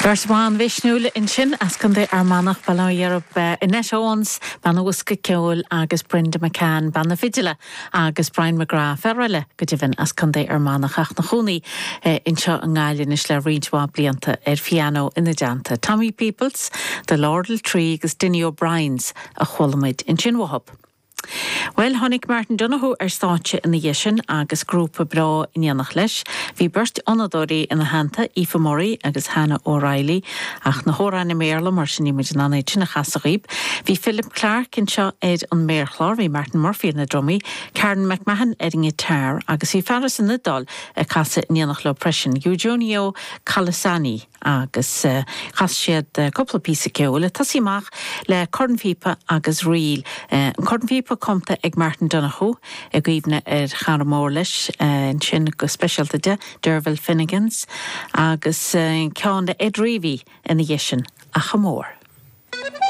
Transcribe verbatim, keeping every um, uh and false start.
Beirt bhan mhisniúil ansin as Contae Fhear Manach Baile Dheirb Annette Owens bean an bhosca ceoil agus Brenda McCann bean na fidile agus Brian McGrath fear eile go deimhin as Contae Fhear Manach ach ina chónaí anseo i nGaillimh anois le roinnt mhaith blianta ar phianó ina dteannta. Tommy Peoples, The Laurel Tree agus Dinny O'Brien's a chuala muid ansin uathub. Well tháinig Martin Donoghue ar stáitse ina dhiaidh sin agus grúpa breá in éineacht leis. Bhí beirt fhonnadóirí ina theannta Aoife Murray agus Hannah O'Reilly ach na hamhráin i mBéarla mar sin níl muid in ann iad sin a chasadh daoibh. Bhí Philip Clark anseo ar an méarchlár, bhí Martin Murphy ar na drumaí, Karen McMahon ar an ngiotár agus bhí fear as an Iodáil ag casadh in éineacht leo freisin, Eugenio Calisani agus uh, chas siad uh, cúpla píosa ceoil, tosaí amach le cornphíopa agus ríl. Uh, an cornphíopa cumtha ag Martin Donoghue i gcuimhne ar chara mór leis ansin go speisialta de Derville Finnegans agus uh, ceann le Ed Reavy ina dhiaidh sin a chamór.